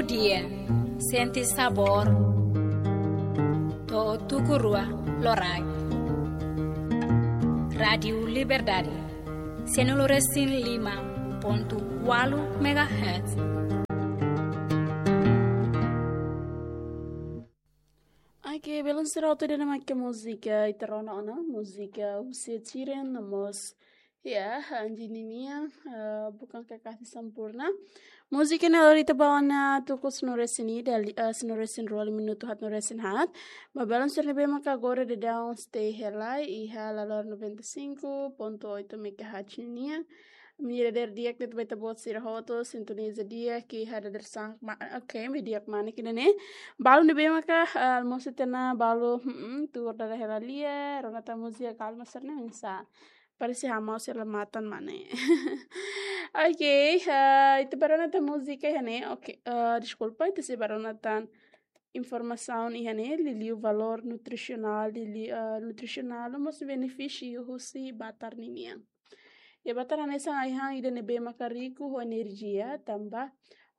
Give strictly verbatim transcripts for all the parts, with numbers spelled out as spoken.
Dia, sente sabór. To'o tuku rua loraik. Rádiu Liberdade, sianulu resin lima pontu ualu megahertz. Oke, belun sira hotu ida-ne'e mak múzika ita rona ona, múzika husi Ed Sheeran no mós, ya, Anji ninian, eh, Bukan Kekasih Sempurna. Múzika ne'e lori ita ba ona tuku sanulu resin ida, li-, eh, sanulu resin rua, lima minutu haat, sanulu resin haat. Ba belun sira ne'ebé maka agora daudaun stay hela iha laloran noventa e cinco ponto oito megahertz ninian. Ami dadeer di'ak de'it ba ita-boot sira hotu, sintoniza di'ak iha dadeer-saan, ma-, oke, ami di'ak mane kina ne'e. Balu ne'ebé maka, eh, almosu tiha ona, balu, hmm, tuur dada hela lia, rona tan múzika kalma sira-ne'e oinsá. Parese hamau sira la matan mane. Oke, eh, ita bá rona tan múzika iha ne'e, oke, eh, deskulpa, ita sei bá rona tan informasaun iha ne'e, liuliu valór nutrisionál, liuliu, eh, nutrisionál, no mós benefísiu husi batar ninian. Ya, batar hanesan ai-han ida ne'ebé maka riku ho enerjia, tanba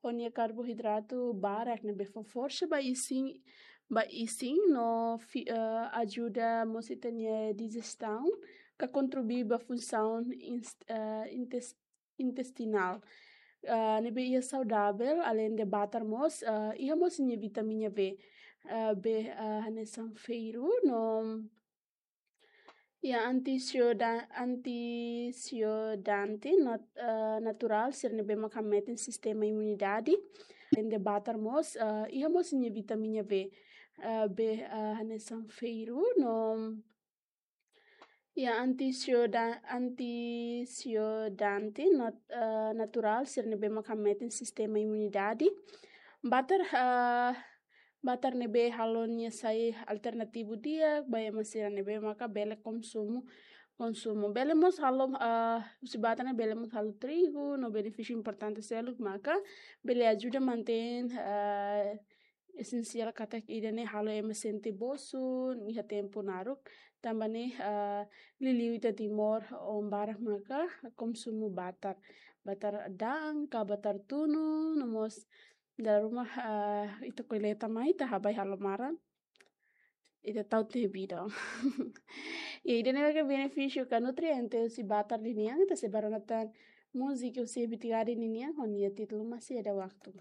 ho nia karboidratu barak ne'ebé fó forsa ba isin, ba isin no fi-, eh, ajuda mós ita-nia dijestaun, ka kontribui ba funsaun ins-, eh, intes-, intestinál. Eh, ne'ebé iha saudavel, alende batar mós, eh, iha mós nia vitamina B, eh, B, eh, hanesan ferru no, ya, antioxida-, antioxidante nat-, eh, naturál sira ne'ebé maka hametin sistema imunidade. Alende batar mós, eh, iha mós nia vitamina B, eh, B, eh, hanesan ferru no, ya, antioxida-, antioxidante nat-, eh, naturál sira ne'ebé maka hametin sistema imunidade. Batar, eh, batar ne'ebé halo nia sai alternativu di'ak ba ema sira ne'ebé maka bele konsumu, konsumu. Bele mós halo, eh, husi batar ne'e bele mós halo trigu, no benefísiu importante seluk maka bele ajuda mantein, eh, esensiál katak ida-ne'e halo ema sente bosu iha tempu naruk. Tanba ne'e, eh, liuliu ita Timor oan barak maka konsumu batar. Batar da'an ka batar tunu, no mós dala ruma, eh, ita koleta mai, ita habai halo maran. Ita tau tiha bidang. Ya, ida-ne'e maka benefísiu ka nutriente husi batar ninian, ita sei bá rona tan múzika husi Bitigari ninian, ho nia títulu Masih Ada Waktu.